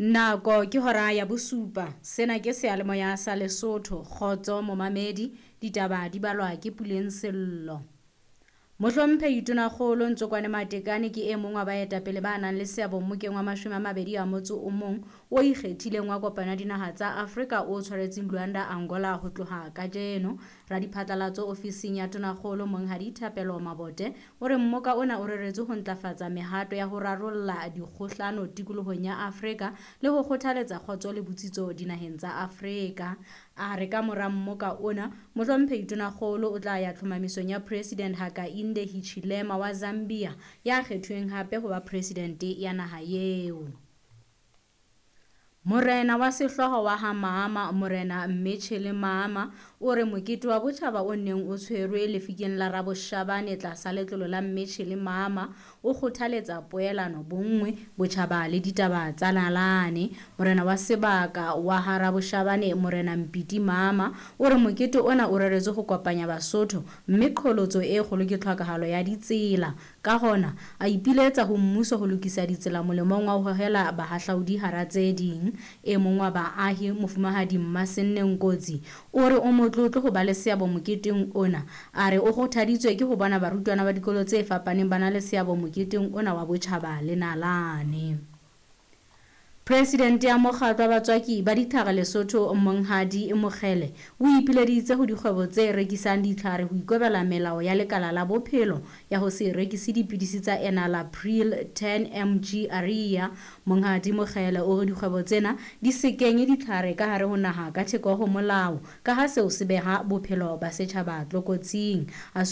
Nako ke hora ya bosupa. Sena ke seyalemoya sa Lesotho. Kgotso momamedi, ditaba di balwa ke Puleng Sello. Mohlomphehi Tonakgolo Ntsokwane Matekane ke e mong wa baetapele ba nang le seabo mmokeng wa 21 o ikgethileng wa kopano ya dinaha tsa Afrika o tshwaretseng Luanda, Angola ho tloha kajeno. Radiphatlalatso ofising ya Tonakgolo Monghadi Thapelo Mabote o re mmoka ona o reretswe ho ntlafatsa mehato ya ho rarolla dikgohlano tikolohong ya Afrika le ho kgothaletsa kgotso le botsitso dinaheng tsa Afrika. A re ka mora mmoka ona, Mohlomphehi Tonakgolo o tla ya tlhomamisong ya President Hakainde Hichilema wa Zambia ya kgethuweng hape ho ba presidente ya naha eo. Morena wa sehlooho wa ha Maama, Morena Mmetjhele Maama, o re mokete wa botjhaba o neng o tshwerwe lefikeng la Raboshabane tlasa letlolo la Mmetjhele Maama o kgothaletsa poelano, bonngwe, botjhaba le ditaba tsa nalane. Morena wa sebaka wa ha Raboshabane, Morena Mpiti Maama, o re mokete ona o reretswe ho kopanya Basotho mme qholotso e kgolo ke tlhokahalo ya ditsela. Ka hona, a ipiletsa ho mmuso ho lokisa ditsela molemong wa ho hohela bahahlaudi hara tse ding. E mong wa baahi, Mofumahadi Mmasenne Nkotsi, o re o motlotlo ho ba le seabo moketeng ona. A re o kgothaditswe ke ho bona barutwana ba dikolo tse fapaneng ba na le seabo moketeng ona wa botjhaba le nalane. Presidente ya mokgatlo wa batswaki ba ditlhare Lesotho Monghadi Mokgele o ipileditse ho dikgwebo tse rekisang ditlhare ho ikobela melao ya lekala la bophelo ya ho se rekise dipidisi tsa Enalapril 10 mg Aria. Monghadi Mokgele o re dikgwebo tsena di se kenye ditlhare ka hare ho naha ka theko ho molao ka ha seo se beha bophelo ba setjhaba tlokotsing. A